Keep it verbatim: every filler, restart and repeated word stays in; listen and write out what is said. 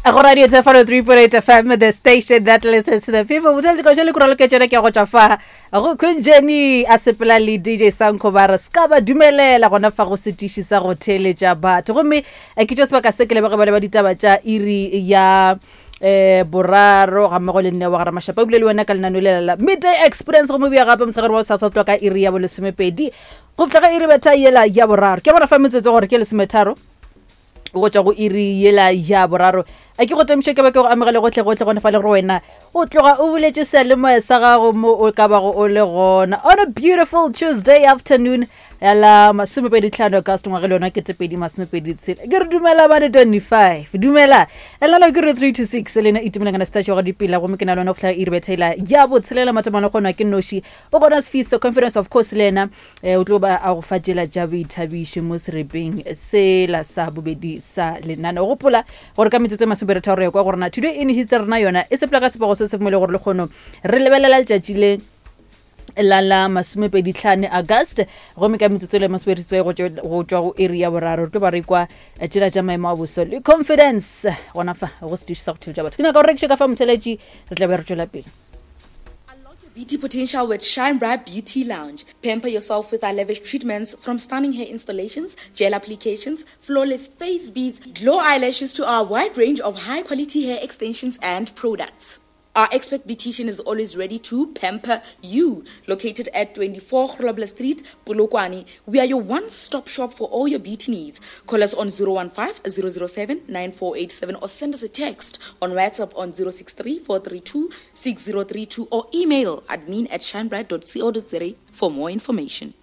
Go radio Thefano three point eight F M, the station that listens to the people. Botheletše ka le kuralo ke tšona ke go tšwa fa go Queen Jenny a sepela le D J Sanko, ba re ska ba dumelela gona fa go setiši sa go theeletša batho. Gomme eh, ke tšo sebaka se ke lebege ba le ba ditaba tša iri ya eh boraro ga mmogo le nne wa gara mašapa ebile le wena ka lenano lela la Midday Experience. Gomme bja gape mosegare wa sa sa tloa ka iri ya bolesomepedi go fihla ga iri betha yela ya boraro. Ke bona fa metsotso gore ke lesometharo go tšwa go iri yela ya boraro. A ke go tamiše ke ba ke go amogele gotlhe gotlhe gone fa le gore wena o tloga o buletše seyalemoya sa gago mo o ka bago o le gona on a beautiful Tuesday afternoon ya la masomepedi tlhano August ngwage le yona ketepedi masomepedi tshela. Ke re dumela bane twenty-five, dumela elana ke re three to six le ena itumeleng kana setaše wa go dipela. Gomme ke na le yona go fihla iri bethaela ya botshelela matomano kgonwa ke noši o gona Sefiso Confidence, of course, le ena eh, o tlo ba a go fa tšela tša boithabišo mo serepeng sela sa bobedi sa lenane. O gopola gore ka metsotso e masomepedi tharo ya kwa gore na Today in History rena yona e sepela ka sepego se se mo e le gore le kgono re lebelela letšatši le la la masomepedi tlhano August. Gomme ka metsotso le masomepedi seswai go tšwa go tšwa go iri ya boraro re tlo ba re kwa eh, tšela tša maemo a boso le Confidence gona fa go setiši sa go theletša batho. Ke nyaka go rekiša ka fa motheletši, re tla be re tšwela pele. Beauty potential with Shine Bright Beauty Lounge. Pamper yourself with our lavish treatments, from stunning hair installations, gel applications, flawless face beads, glow eyelashes to our wide range of high quality hair extensions and products. Our expert beautician is always ready to pamper you. Located at twenty-four Grobler Street, Polokwane, we are your one-stop shop for all your beauty needs. Call us on zero one five zero zero seven nine four eight seven or send us a text on WhatsApp on zero six three four three two six zero three two or email admin at shinebright dot co dot za for more information.